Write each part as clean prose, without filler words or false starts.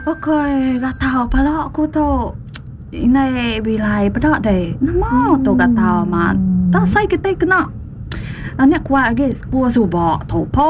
Okoi, gatal pala aku tu. Indai bilai peda deh. Nama tu gatal amat. Tak sai kitai kena anak kuat agi sekul suba tu po.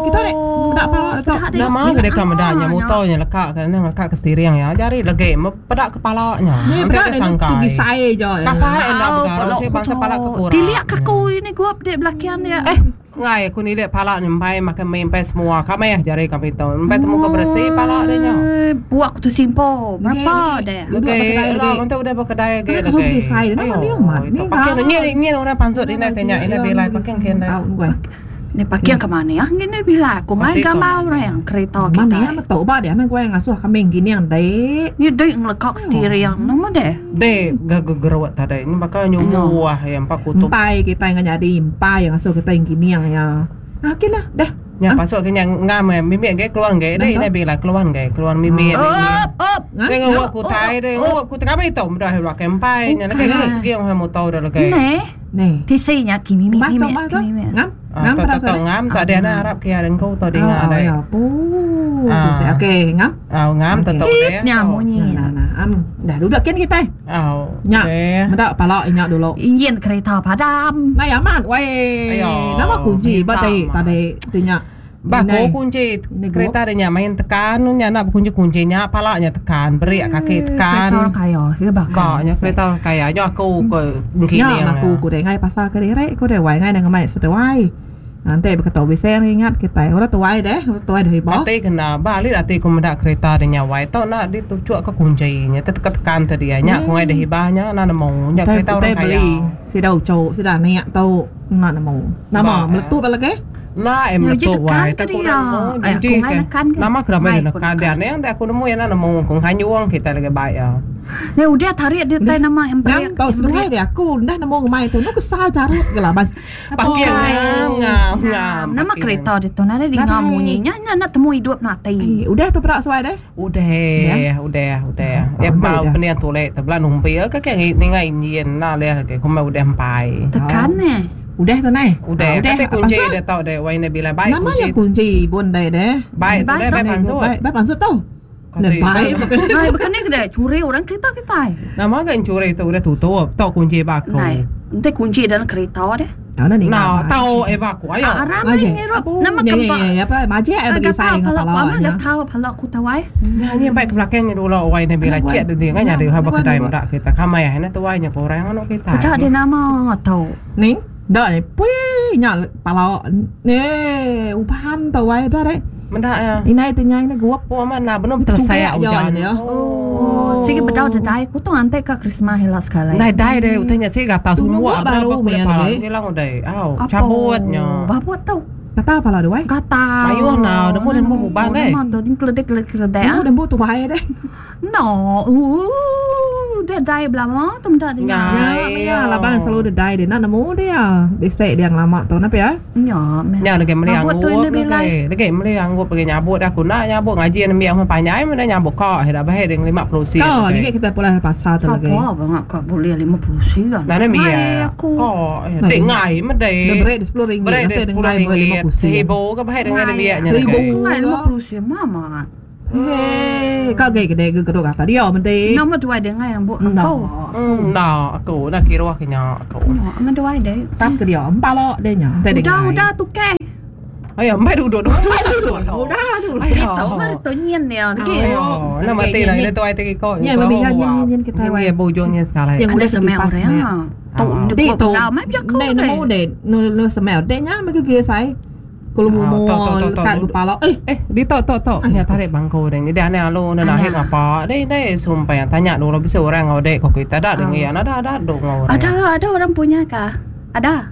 Kita dek meda pala tu. Nama ke deka meda nya muto nya leka ke nang leka ke steering ya. Jari legi mepeda kepala nya. Ni peda dek tu gisai je. Kapai enda begara seh bangsa pala ke kurang. Tilik ke aku ini gup dek belakian dia. Eh. Ngai aku nilik pala nya empai makai mi empai semua ka meh jari kami tu. Empai temu ke beresi pala dia nya. Buak ku tersimpo. Berapa deh? Legi la untuk udah bekedai agi legi. Ayo. Pakai ni ni orang pansut ina tanya ina bilai pakai kin dai. Ni pakai ke mana ya? Ngini bilai aku ngai gambar orang kereta kita. Mana ya metu ba dia nang gue ngasuh kami gini yang dek. Ni dek ngelekak steering nama deh. Dek gegerut tadi ni baka nyumuh ya empa kutup. Empai kita yang nyadi empai yang ngasuh kita yang gini yang ya. Ah okey lah dah. Nya pasuk ke nya ngam eh mimit ge keluar ge deh ina bila keluar ge keluar mimit. Up up. Deh nguap kutai deh nguap kutai kami tu mudah luar ke empai nya lagi ke segi yang motor dah lagi. Ne. Ne. Tisi nya ki mimit mimit. Ngam. Ngam pada tu ngam tak ada nak harap ke ada engkau tu dengar deh. Ya pu. Okey ngam. Au ngam tu tu deh. Nya munyi. Nah nah am dah duduk kin kita. Au. Nya. Meda pala inya dulu. Enjin kereta padam. Nai amat weh. Nama kunci ba ti tadi ti nya. Ba ko kunci kereta dia nya main tekan nya nak bekunci kunci nya pala nya tekan berik kaki tekan. Kereta orang kaya ke ba. Ba nya kereta orang kaya nya aku ke Nya aku ku deh ngai pasal ke diri ku deh wai ngai ngemai seduai. Enti beketu bisi ingat kitai orang tuai deh, orang tuai deh iba. Ati kena ba alit ati ku meda kereta deh nya wai tau enda dituchuk ka kunchi nya tekan tekan te dia nya ku ngai deh iba nya enda nemu nya kereta orang kaya. Beli sida uchu sida anak tu enda nemu. Nama meletup lagi? Enda eh meletup wai tau ku enda nemu uji ke nama ke ramai nekan dia ning deh aku nemu iya enda nemu ku nganyung kitai lagi bai iya. Ni udah tarik dia tai nama embrek. Ngam tau seduai deh aku enda nemu ngemai tu. Nu kesal jarut ke laban. Paking ngam ngam ngam. Nama kereta ditu nadai dinga munyi nya nya enda temu idup nu ati. Udah tu peda suai deh. Udah udah udah. Ya bau pening tulik tu bela numpi ke ke ninga enjin enda alih agi kumbai udah empai. Tekan neh. Udah tu neh. Udah kati kunci dia tau deh wai ne bila bai kunci. Nama nya kunci bun deh deh. Bai tu deh bai pansut. Bai pansut tu. Bai baka ni ke deh curi orang kereta kitai. Nama ga encuri tu udah tutup tau kunci ba aku. Nai enti kunci dalam kereta deh. Nah tau eh ba aku ayo. Aram meh ngirup nama ke ba. Majak bagi sai enggau pala. Amat ga tau pala ku tawai. Nya nya bai ke belakang nya dulu wai ne bila cek dudi ngai nyadi ba kedai meda kita kamai ai ne tuai nya kurang anu kitai. Peda deh nama tau. Ni da ni pui nya pala ni uban tawai da deh. Meda iya. Indai ti nyai ne gup. Oh amat enda benung betelesai ujan. Oh. Sigi bedau dedai ku tu antai ka Krismas ila sekali. Ndai dai deh utai nya sigi gatal sumuk baru meh lagi. Ngilang udai. Au cabut nya. Babut tu. Gatal pala deh wai. Gatal. Mayuh nau nemu nemu uban deh. Nama tu keledek keledek. Nemu nemu tuai deh. No. Ooh, dedai belama tu meda dia. Nya meh iya laban selalu dedai dia enda nemu dia. Bisi dia ngelama tu nah pia. Nya meh. Nya legi meli anggup legi. Legi meli anggup legi nyabut aku enda nyabut ngaji nembiak meh panjai meh nyabut ka sida bahai dia 50 sen. Ka legi kita pulai ari pasar tu legi. Sapa ba ka bulih 50 sen. Nah nembiak. Aku. Ka dek ngai meh dek. Dia beri dia 10 ringgit nanti dia ngai 50 sen. Seribu ke bahai dengan nembiak nya legi. Seribu. Ngai 50 sen mama. Hei, kau gay gede ke kedok kata dia menti. Nama duai dia ngai ambuk aku. Enda aku dah kiruh ke nya aku. Nama duai dia. Tap ke dia empalo dia nya. Udah udah tukar. Ayo, empai duduk dulu. Empai duduk. Udah tu. Ayo. Mari tu nyin dia. Ayo, nama mati dah dia tuai ti ko. Nya mami nya nyin nyin kita wai. Nya bujungnya sekali. Yang udah semel orang. Tu di tu. Ndai nemu deh. Nu semel deh nya mega ge sai. Kulu mumu lekat kepala. Eh, eh, di tok tok tok. Nya tarik bangku deh. Jadi aneh alu ne nahit ngapa. Deh deh sumpah yang tanya dulu bisi orang ngau dek ko kita dak dengi ya. Ada ada duk ngau orang. Ada ada orang punya kah? Ada.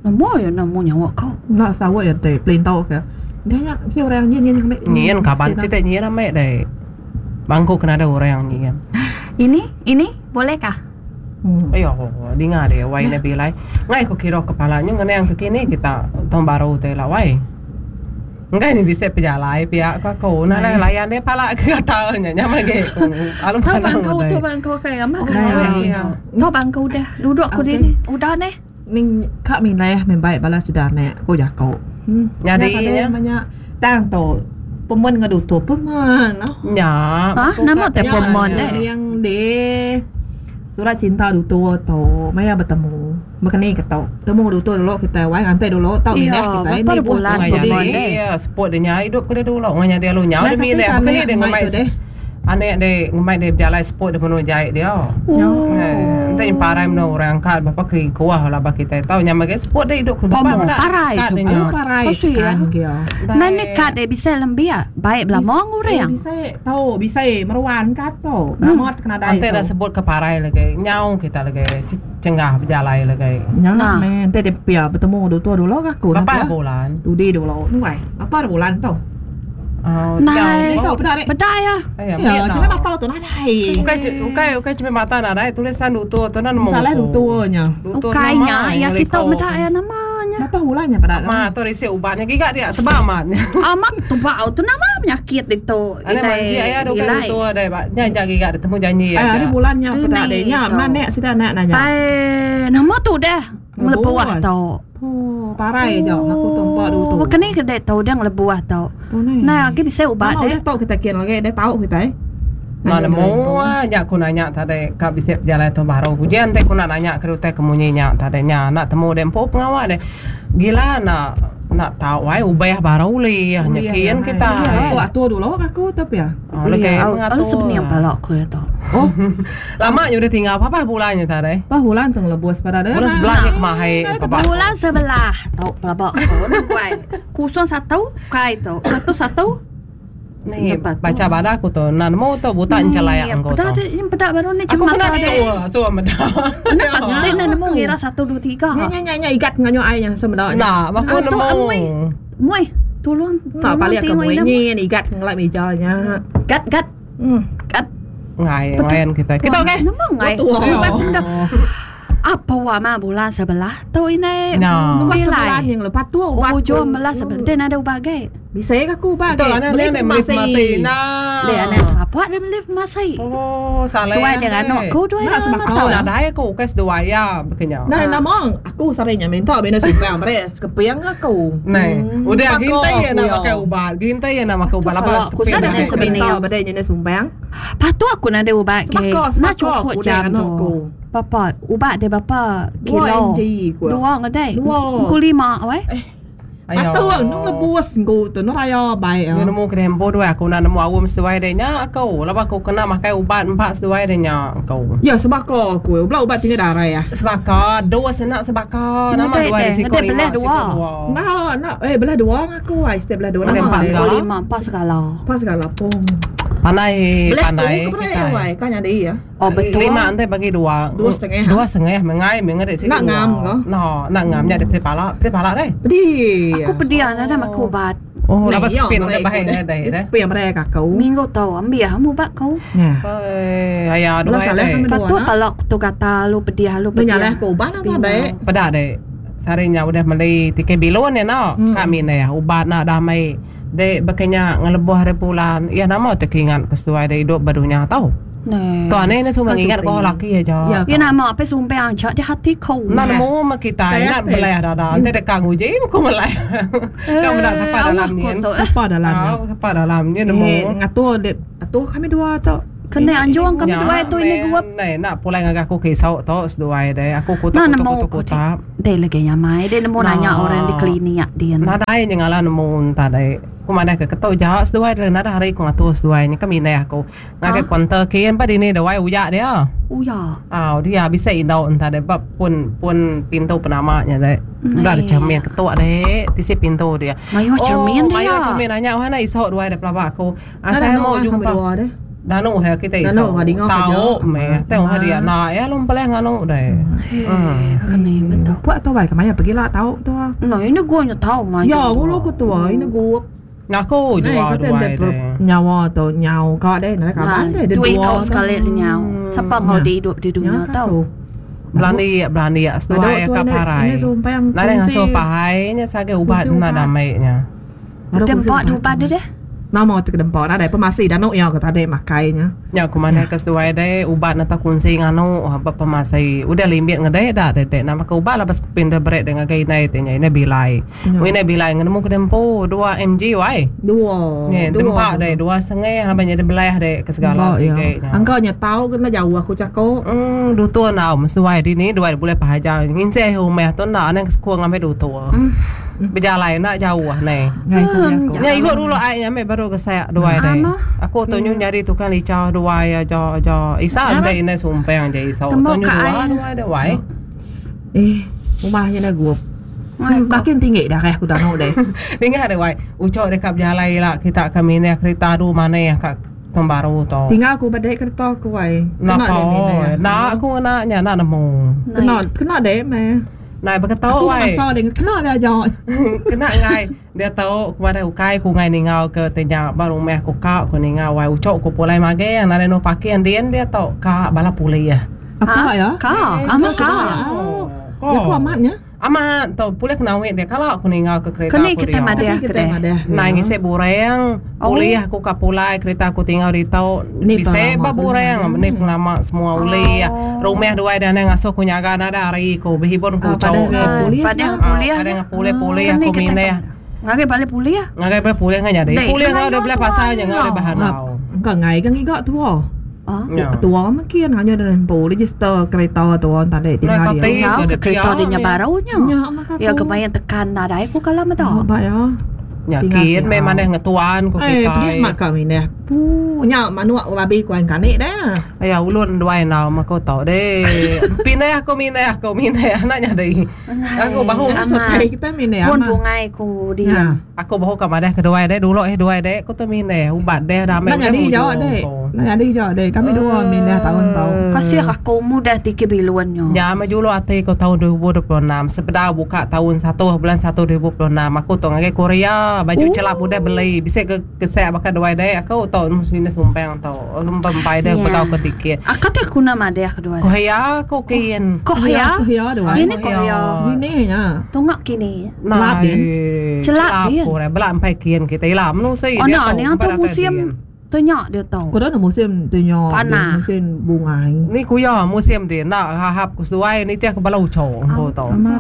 Nemu ya nemu nyawa kau. Nak sawat ya deh pelintau ke. Dia nya bisi orang nyin nyin ambil. Nyin kaban sida nyin ambil deh. Bangku kena ada orang nyin. Ini ini boleh kah? Ayo, dinga dia wai ne bilai. Ngai ko kira kepala nyu ngenang ke kini kita tahun baru tu ila wai. Enggai ni bisi pejalai pia ko aku. Nah lah layan dia pala ke gatal nya nya magi ku. Alu Tau bangkau tu bangkau kai amat. Tau bangkau udah duduk ku dini. Udah neh. Ning ka milih meh bai bala sida anak ku jaku. Nyadi nya. Tang tu. Pemen ngadu tu pemen. Nya. Ha, nama te pemen deh? Yang deh. Surat cinta dutu tu maya betemu. Bekeni ke tu. Temu dutu dulu kita wai nganti dulu tau mindah kita ni bulan pemen deh. Iya, support dia nya hidup ke dia dulu nganya dia lu nyau dia mindah. Bekeni dia ngemai Anek dek ngemai dek bejalai seput dek menu jai dia. Oh. Enti parai menu orang angkat berapa kali kuah lah bagi kita tahu nyam bagi seput dek hidup ke depan dah. Parai seput. Parai kan dia. Nan ni kad dek bisa lembia baik belamong orang. Bisa tahu bisa meruan kad tu. Nama kena dai. Enti dah sebut ke parai lagi nyau kita lagi cenggah bejalai lagi. Nyau nah. Enti dia pia bertemu dulu dulu aku. Berapa bulan? Dudi dulu. Nuai. Apa bulan tu? Oh, Nai. Tahu peda dek. Peda ya. Ya, cuma mata tu nadai. Ukai ukai ukai cuma mata nadai tulisan dutu tu nan nemu. Salah dutunya. Ukai nya ya kita meda ya namanya. Berapa bulannya peda? Ma tu risi ubatnya giga dia tebak amat. Amat tebak tu nama penyakit itu. Ada manji ayah tu kan dutu ada ba. Nya nya giga dia temu janji ya. Ada bulannya peda dek. Nya mana sida nak nanya. Ai nama tu dah. Ngelebuah tu. Oh, parai aja aku tu empat dua tu. Bukan ni kedai tu dia ngelebuah tu. Nah, lagi bisa ubat deh. Dah tahu kita kian lagi, dah tahu kita eh. Nah, nemu nya aku nanya tadi ka bisi pejalai tu baru. Ujian te aku nak nanya ke utai ke munyi nya tadi nya nak temu dek empu pengawa dek. Gila nak nak tahu ai ubah baru li nya kian kita. Aku atur dulu aku tapi ya. Oh, lagi mengatur. Sebenarnya balok aku ya tu. Oh. Lama nya udah tinggal apa bulan nya tadi? Apa bulan tu lebus pada dah. Bulan sebelah nya kemahai. Bulan sebelah tu pelabak aku buat. Kosong satu kai tu. Satu satu. Ni baca pada aku tu. Nan mau tu buta encelayak engkau tu. Yang pedak baru ni cuma aku kena situ so meda. Kenapa tu nak nemu ngira 1 2 3. Nya nya nya igat nganyo ai nya so meda. Nah, aku nemu. Mui, tolong tak balik ke mui ni igat ngelak meja nya. Gat gat. Gat. Ngai lain kita. Kita okey. Nemu ngai. Apa wa ma bulan sebelah tu ini. No. Bukan sebulan yang lepas tu ubat. Ujung belah sebelah. Dia ada ubat ge. Bisa ya aku ubat ge. Beli farmasi. Nah. Dia ada siapa dia beli farmasi. Oh, salah. Suai dengan anak aku dua. Nah, sebab kau dah ada aku kes dua ya bekenya. Nah, nama aku seringnya minta bina sumpah beres kepiang aku. Nah, udah gintai ya nak pakai ubat. Gintai ya nak pakai ubat. Apa aku sebenarnya minta bedanya jenis sumpah. Patu aku nak ada ubat ge. Nak cukup jam tu. Bapa, ubat dia berapa kilo? Dua ngedai. Dua. Ku lima, weh. Patu nung lebus nggu tu nu raya baik. Nyu nemu kena hembo dua aku nak nemu awam sesuai dia nya aku. Lepas aku kena makai ubat empat sesuai dia nya aku. Ya sebab aku aku ubat ubat tinggal darah ya. Sebab kau dua senak sebab kau nama dua di siko lima dua. Nah, nah eh belah dua aku ai step belah dua. Nama empat segala. Lima empat segala. Empat segala pun. Pandai pandai kita. Kan ada ya. Oh betul. Lima nanti bagi dua. Dua setengah. Dua setengah mengai mengai sini. Nak ngam ke? No, nak ngam nya dia pala, dia pala deh. Pedih. Aku pedih ada maku ubat. Oh, lepas spin dia bahaya deh. Spin mereka kau. Minggu tahu ambil kamu ubat kau. Ya. Eh, ayah dua deh. Patut kalau tu kata lu pedih lu pedih. Menyalah aku ubat apa deh? Pedah deh. Sarinya udah beli tiket bilon ya no. Kami nih ubat nak damai. Dek bekenya ngeleboh hari bulan. Ya nama terkingat kesesuai deh hidup barunya tahu. Nah. Tuan ni semua mengingat kau laki aja. Ya nama apa sumpah angkat di hati kau. Nak nemu mak kita nak belai dah dah. Nanti dekat nguji aku melai. Kau nak siapa dalam ni? Siapa dalam ni? Siapa dalam ni nemu. Ngatur dek, ngatur kami dua tu. Kena anjuang kami dua tu ini gua. Nih nak pulang agak aku kisau tu sedua deh. Aku kutuk kutuk kutuk kutuk. Dek lagi nyamai. Dek nemu nanya orang di klinik dia. Nadai nyengala nemu tadi. Aku mana ke ketok jahat seduai dia nada hari aku ngatur seduai ni kami ni aku ngakai konter kian pada ini dawai uyak dia. Uyak. Ah dia bisa indau entah dia bab pun pun pintu penamanya deh. Udah ada cermin ketok deh, tisi pintu dia. Mayu cermin dia. Mayu cermin nanya mana isau dua ada pelabak aku. Ah saya mau jumpa. Danu he kita isau. Tahu meh, tahu hari nak ya lom peleh nganu deh. Hmm. Kena betul. Buat tu baik kemana pergilah tahu tu. Nah ini gua nya tahu mah. Ya, gua lu ketua ini gua. Aku dua dua deh. Nyawa tu nyawa kau deh, nak kawan deh. Dua kau sekali nyawa. Siapa mau di hidup di dunia tahu. Berani berani ya, seduai ka parai. Nada ngasuh pahai nya sage ubat na damainya. Udah empat ubat deh. Nama ti kedempa nadai pemasi danu iya ke tadi makai nya. Nya ku madah ke seduai deh ubat neta kunsi nganu ba pemasi. Udah limbit ngedeh da deh deh nama ke ubat laban sekupin deh beri deh ngagai indai ti nya indai bilai. Wei indai bilai ngenemu ke dempu 2 mg wai. Dua. Neh dempa deh dua setengah laban nya deh belah deh ke segala sigi nya. Angka nya tau ke enda jauh aku jako. Emm dutur enggau seduai dini duai bulih pahajar nginseh rumah tu enda anang ke sekul ngambi dutur. Bejalai enda jauh neh. Nya igo dulu ai nya meh baru gesak duai deh. Aku tu nyu nyadi tukang licha duai aja aja. Isa enti indai sumpang je iso tu nyu dua duai deh wai. Eh rumah nya dah gup. Makin tinggi darah aku danu deh. Ninga deh wai. Ucho deka bejalai ila kita ke mindah kerita adu manah ka tahun baru tu. Tinggal aku ba dek kereta aku wai. Kena deh mindah. Enda aku ngena nya enda nemu. Kena kena deh meh. Nai beketu Aku ai. masa deh kena deh aja. Kena enggai diatu ku madah ukai ku enggai ningau ke ti nya ba rumah ku ka ku ningau wai uchu ku pulai maging nadai anu parking din diatu ka bala pulih. Ka ya. Ka amat ka. Ya ku amat nya. Amat tu pulih kena awit dia kala ku ningau ke kereta Keni ku kitai dia. madah Kati ke kitai deh. madah. Nai ngisi burang pulih aku ka pulai kerita aku tingau ditu Ni bisi pengelama ba burang ni pengelama semua ulih rumah duai deh anang ngasuh ku nyaga nadai hari ku behibun ku Ah, uchu padah ke polis Padah lah. pulih. padah ngan pulih pulih Keni aku kitai mindah Ngagai balik pulih. ngagai balik pulih ngan nyadi Dei, pulih ngan ngau deh anu belah tua pasar nya ngau deh nya. bahanau Engka ngai ke ngiga tua. Ah. Nya. Tua makin hanya dah empu register kereta tua tadi tinggal Nah, dia. kati. Ngau Ke ke kereta dia dia nya meh. baru nya. Nya maka Ya aku. ke main tekan nadai ku kala meda. Oh, ba ya. Nya Tinggal kin dia. meh manah ngetuan ku Eh, pedih kitai. mak ka mindah. Pu, nya manuk babi ku an kanik dah. Aya ulun duai enggau meh ku tu deh. Pindah aku mindah aku mindah enda nyadi. Aku bahu Amat. Setai kita mindah Pun amat. bungai ku Ya. dia. Aku bahu ka madah ke duai deh dulu eh duai deh ku tu mindah ubat deh dah Enda amai udah nyadi jauh mujur dek. ku. Enda nyadi jauh dek. Kami dua mindah taun tu. Kasih aku mudah tiki bilun nya. Nya meh juluk ati ku taun 2026 sebedau buka taun satu bulan satu 2026 aku tu ngagai Korea baju chelap udah beli bisi ke Kesek baka duai dek aku tu sini sumpang tu empai deh Ya. begau ke tiket. Aku ti aku nak madah ke duai. Ko ya ko kin. Koh ya. Koh ya duai. Ini koh ya. Ini nya. Tungak kini. Celap din. Celap din. Ko belak empai kin kita ila menu si Oh nak ni tu musim tu nyak dia tau. Ko dah musim tu nya. Panah. Musim bungai. Ni kuya musim dia nak hahap ku seduai ni tiap ke bala ucho ko tu. Amat.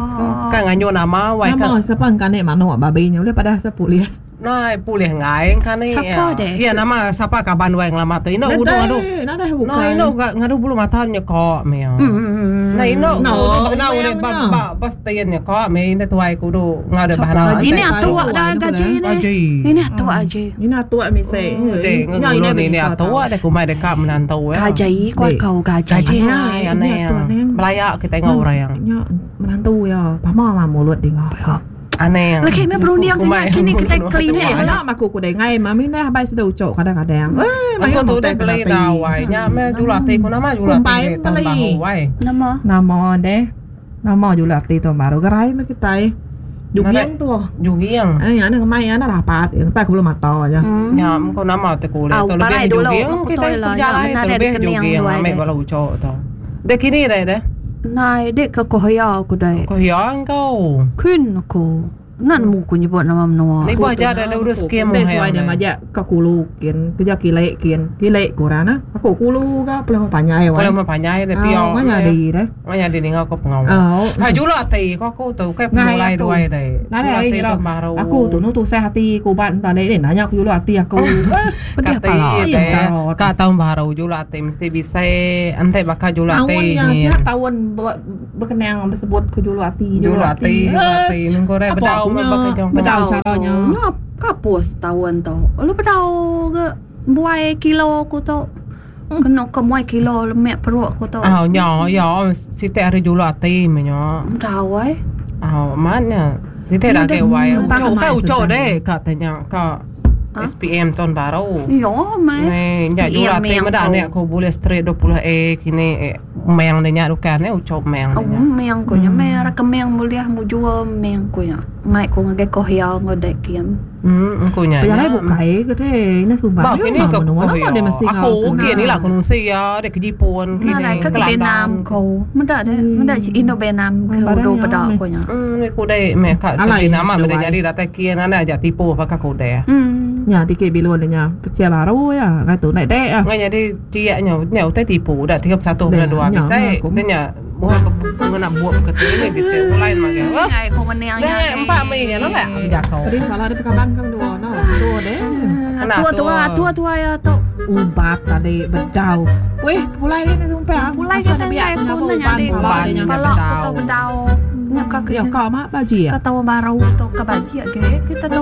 Kan nganyu nama wai Nama kan. siapa engkau manuk babi nya boleh pada sepulis. Nai pulih ngai engka ni. Sapa deh? Ya nama sapa kaban wai ngelama tu. Ino udu ngadu. Nadai bukan. Nah ino ngadu bulu mata nya ko mia. Nah ino No, kudu nah udah ba nya. ba ba stain nya ko mia ina tuai kudu ngadu bahana. Gaji ni Ai, atuk ai, dah ai, gaji ai, ni. Gaji. Ini atuk aje. Ini atuk mise. Deh ngulu ni ni atuk deh kumai dekat menantu ya. Gaji kau Dek. kau gaji. Gaji Aneh, ngai ini aneh. atuk aneh. Belayak kita ngau orang. Nya menantu ya. Pama mah mulut dia ngau. Aneh. Lagi meh berunding Kumai. kini kita klinik Kumai. lah. Lah aku ku dengai mami dah bai sudah ucok kadang-kadang. Eh, Aku tu udah beli dah wai. Nya meh julati ku nama julati Kumpai tahun beli. baru wai. Nama Nama deh. Nama julati tu baru gerai meh kita. Jugiang tu. Jugiang. Eh, ana ngemai ana rapat. Yang tak aku belum mata aja. Hmm. Nya kau nama te kuliah Au, tu parai lebih dulu. jugiang Aku kita tahu lah, berjalan ya, tu benar lebih ada kening jugiang dua ambil ada. bala ucok tu. Dek kini deh deh. Nai dek ke koh ya aku dai. Kau yang kau. Kun aku. Nak nemu ku nyebut nama menua. Ni buah aja ada urus skim Dek suai dia majak ke kulu kin, kerja kilek kin, kilek kurang nah. Aku kulu ka pelama panjai wai. Kalau mau panjai deh Ah, pio. Mana di deh. Mana di ningau kau pengau. Oh. Ha jula ti kau aku tu kai Ngai mulai aku. duai deh. Nai hari ni tu lah. baru. Aku tu nu tu saya hati ku ban tadi ni nanya aku dulu hati aku. Pedih Kati pala. deh. Iya, cara. Ka tahun baru jula ti mesti bisa ante bakal jula Tahun ti. yang tiap tahun berkenang bersebut ku julu hati Jula ti, jula ti. Nunggu deh Apa bedau akunya? mah bakal jong. Bedau Bedau caranya. tu. Nya kapus tahun tu. Lu bedau ke buai kilo aku tu. Kena ke muai kilo lemek perut aku tu. Ah, nya, ya, siti hari jula ti menya. Bedau eh. Ah, mana? Siti dah ke wai. Entah Ucok kemai ka ucok sudah. deh ka tanya ka Ha? SPM tahun baru. Ya, meh. Ni, nya jula ti SPM meda tu. ni aku boleh straight 20A kini eh, meng dia nya bukan ni ucok meng Oh, dia nya. meng ku nya meh rakemeng boleh mu jual meng ku nya. Mai ku ngagai Kohia enggau Dek Kim. Hmm, aku nya. Pejalai bukai ke deh. Ina suba. Ba kini ke Nama dia mesti Aku kini lah aku nungsi ya, dek ke Jipun kini. Nadai ke Vietnam ko. Meda deh, meda Indo Vietnam ke udu peda ko nya. Hmm, aku deh meh ka ke Vietnam meh deh jadi datai kin anda aja tipu baka ku deh. Hmm. Nya tiki bilun nya pecah baru ya, ngai tu naik dek. Ngai jadi ciak nya, nya utai tipu dah 31.2 bisai nya buah ngena bup ke ti ni bisi ulai magang. Ngai ko mening nya. Empat mei nya lah jako. Tadi pala dia pekaban kang dua no. Tua deh. Tua tua tua tua ya tu. Ubat tadi bedau. Weh, pulai ni sumpah. Pulai kita ngai ko nanya di pala ko bedau. Nya ka Ya ka mak baji ya. Ka tahu baru tu ka baji age kita tu.